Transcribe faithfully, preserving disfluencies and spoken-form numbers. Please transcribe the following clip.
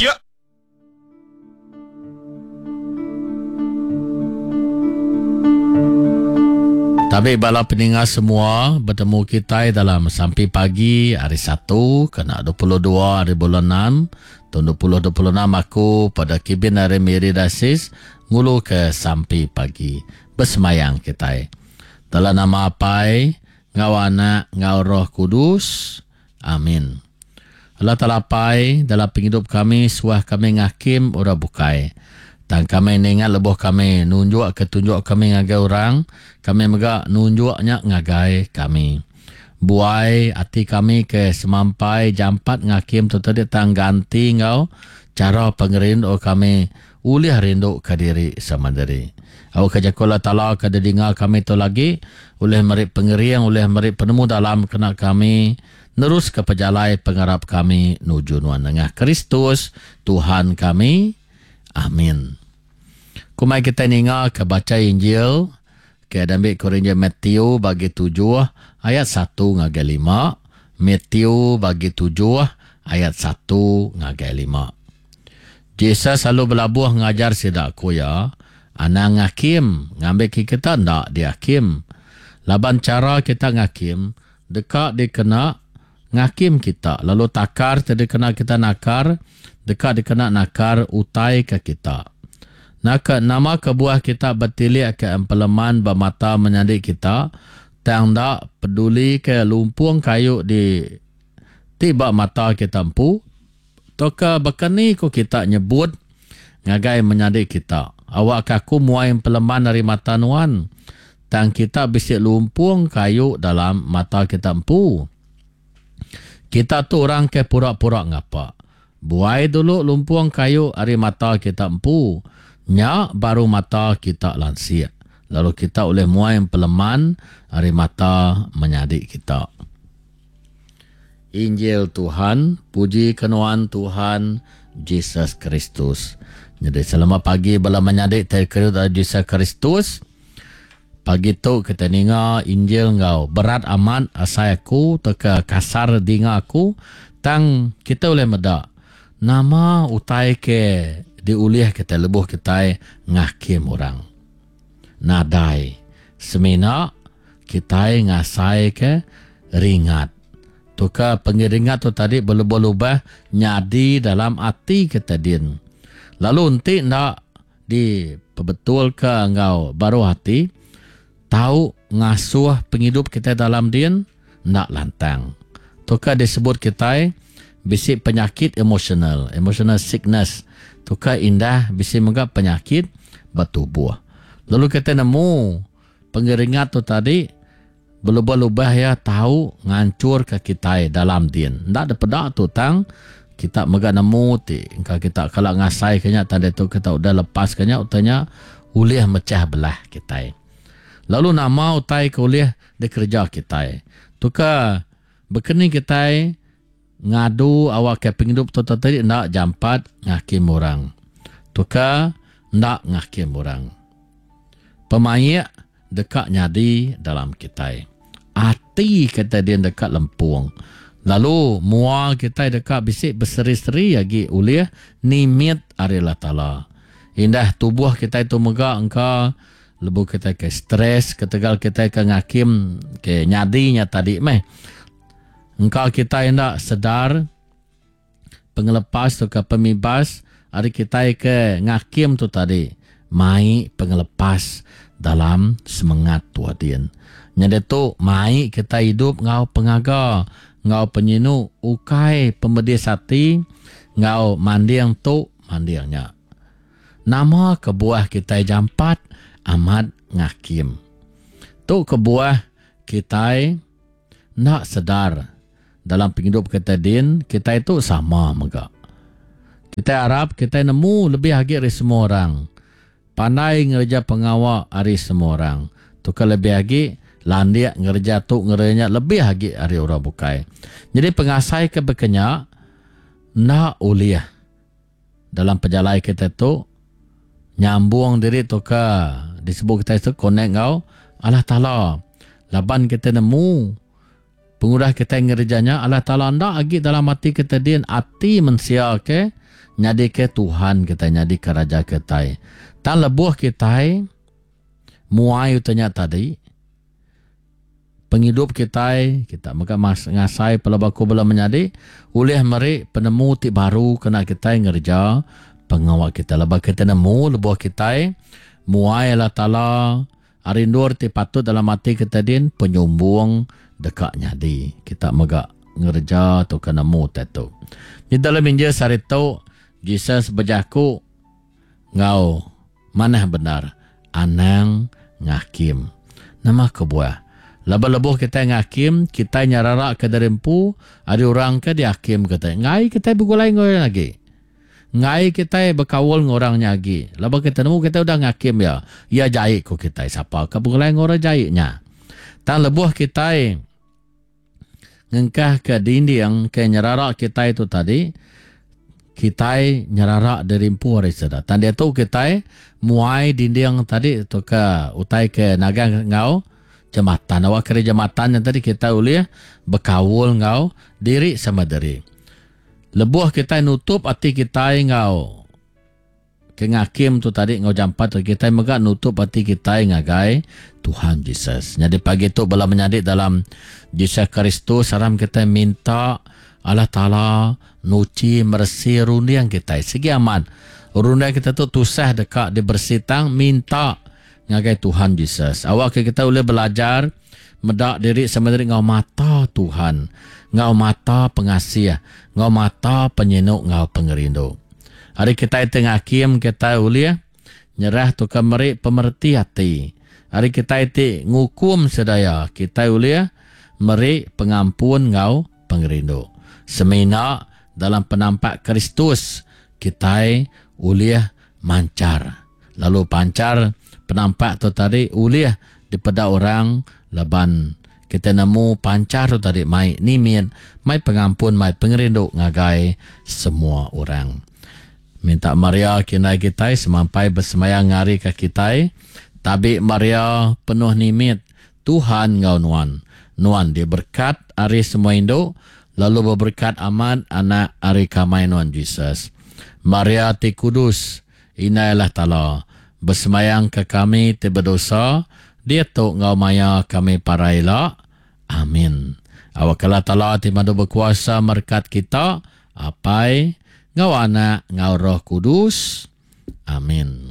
Ya. Tabi bala peninga semua, betemu kitai dalam sampi pagi hari Satu kena dua puluh dua hari bulan enam tahun dua puluh dua puluh enam aku pada kibin hari Miri Dasis ngulu ke sampi pagi besemayang kitai. Dalam nama Apai, ngau Anak, ngau Roh Kudus. Amin. Allah Taala Apai, dalam pengidup kami suah kami ngakim orang bukai. Tang kami ningat lebuh kami nunjuk ke tunjuk kami ngagai orang, kami mega nunjuknya ngagai kami. Buai ati kami ke semampai jampat ngakim tu tadi tang ganti ngau cara pengerindu kami ulih rindu ke diri sama diri. Au ke jaku Allah Taala ke didinga kami tu lagi ulih meri pengering, ulih meri penemu dalam kena kami nerus ke pejalai pengarap kami nuju nuan nengah Kristus Tuhan kami. Amin. Kumai kita ninga ke baca Injil ke diambil ke Injil Matthew bagi tujuh ayat satu ngagai lima. Matthew bagi tujuh ayat satu ngagai lima. Jesus selalu belabuh ngajar sida ku ya, anang ngakim, ngambil ke kita ndak diakim. Laban cara kita ngakim deka dikena ngakim kita, lalu takar te dikena kita nakar, deka dikena nakar utai ke kita. Naka nama kebuah kita bertilik ke empeleman ba mata menyadi kita, tang dak peduli ke lumpung kayu di ti ba mata kita empu, toka bakani ko kita nyebut ngagai menyadi kita, awak ke aku muai empeleman dari mata nuan, tang kita bisi lumpung kayu dalam mata kita empu. Kita tu orang ke pura-pura ngapa. Buai dulu lumpung kayu ari mata kita empu, nya baru mata kita lansik. Lalu kita boleh muai peleman ari mata menyadi kita. Injil Tuhan, puji ke nuan Tuhan Jesus Kristus. Jadi selamat pagi bala menyadi terkira dari Jesus Kristus. Pagi tu kita ninga Injil ngau berat amat asai aku teka kasar dinga aku, tang kita boleh meda nama utai ke diulih kita lebuh kita ngakim orang. Nadai semina kita ngasai ke ringat. Tuka pengiringat tu tadi berlubah-lubah nyadi dalam ati kita din. Lalu enti ndak diperbetul ke ngau baru hati, tau ngasuh penghidup kita dalam din ndak lantang. Tuka disebut kita bisi penyakit emosional, emotional sickness. Tuka indah bisi mega penyakit bertubuh. Lalu kita nemu pengeringat tu tadi berlubah-lubah ya tahu ngancur ke kita dalam din. Ndak ada pedak tu tang kita mega nemu ti engka kita kalau ngasai kenya tadi tu kita udah lepas kenya utanya ulih mecah belah kita. Lalu nama utai ke ulih dikerja kita. Tuka bekeni kita ngadu awak ke penghidup tu tadi ndak jampat ngakim orang. Tuka ndak ngakim orang. Pemaik dekat nyadi dalam kita. Ati kita dia dekat lempung. Lalu mua kita dekat bisik berseri-seri lagi ulih nimit ari Allah Taala. Indah tubuh kita itu mega engka lebu kita ke stres ketegal kita ke ngakim ke nyadinya tadi meh. Engkau kita hendak sedar pengelepas tu ke pemibas hari kita ke ngakim tu tadi mai pengelepas dalam semangat tuadin. Nyada tu mai kita hidup ngau pengaga, ngau penyinu ukai pemedis hati, ngau mandiang tu mandiangnya. Nama kebuah kita jampat amat ngakim. Tu kebuah kita nak sedar dalam penghidup kita din, kita itu sama mega. Kita harap kita nemu lebih agi dari semua orang. Pandai ngerja pengawak ari semua orang. Tu ke lebih agi landik ngerja tu ngerja lebih agi ari orang bukai. Jadi pengasai ke bekenya nak ulih dalam perjalanan kita tu nyambung diri tu ke disebut kita tu connect ngau Allah Taala. Laban kita nemu pengudah kita ngerjanya Allah Taala ndak agi dalam hati kita din ati mensia ke Nyadi ke Tuhan kita nyadi ke raja kita. Tang lebuh kita muai utanya tadi penghidup kita kita mega mas ngasai pelabaku bela menyadi ulih meri penemu ti baru kena kita ngerja pengawa kita lebuh kita nemu lebuh kita muai Allah Taala ari endur ti patut dalam ati kita din penyumbung deka nyadi kita mega ngerja tu ke nemu tu. Di dalam Injil sehari tu Jesus berjaku ngau manah benar anang ngakim. Nama kebuah? Lebuh-lebuh kita ngakim, kita nyarara ke dari empu, ada orang ke dihakim kita. Ngai kita bergulai dengan orang lagi. Ngai kita berkaul dengan orang lagi. Lebuh kita nemu kita udah ngakim ya. Ya jahit ko kita. Siapa ke bergulai dengan orang jahitnya? Tang lebuh kita ngengkah ke dinding ke nyerara kita itu tadi, kita nyerara dari empu hari seda. Tang dia tu kita muai dinding tadi tu ke utai ke nagang ngau jematan. Awak kira jematan yang tadi kita boleh berkaul ngau diri sama diri. Lebuh kita nutup hati kita ngau ke ngakim tu tadi ngau jampat tu kita mega nutup hati kita ngagai Tuhan Jesus. Jadi pagi tu bala menyadi dalam Jesus Kristus saram kita minta Allah Taala nuci meresi runding kita. Segi aman. Runding kita tu tusah dekat dibersih tang minta ngagai Tuhan Jesus. Awak kita boleh belajar medak diri sama diri ngau mata Tuhan, ngau mata pengasih, ngau mata penyinuk, ngau pengerindu. Hari kita itu ngakim kita boleh nyerah tu ke meri pemerti hati. Hari kita itu ngukum sedaya kita boleh meri pengampun ngau pengerindu. Semina dalam penampak Kristus kita boleh mancar. Lalu pancar penampak tu tadi ulih daripada orang laban kita nemu pancar tu tadi mai nimin mai pengampun mai pengerindu ngagai semua orang. Minta Maria kinai kita semampai bersemayang ngari ke kita. Tabi Maria penuh nimit Tuhan ngau nuan. Nuan diberkat ari semua induk lalu berberkat amat anak ari kamai nuan Jesus. Maria ti kudus inailah Taala bersemayang ke kami ti berdosa dia tu ngau maya kami paraila. Amin. Awak Allah Taala ti madu berkuasa merkat kita apai ngau anak ngau Roh Kudus. Amin.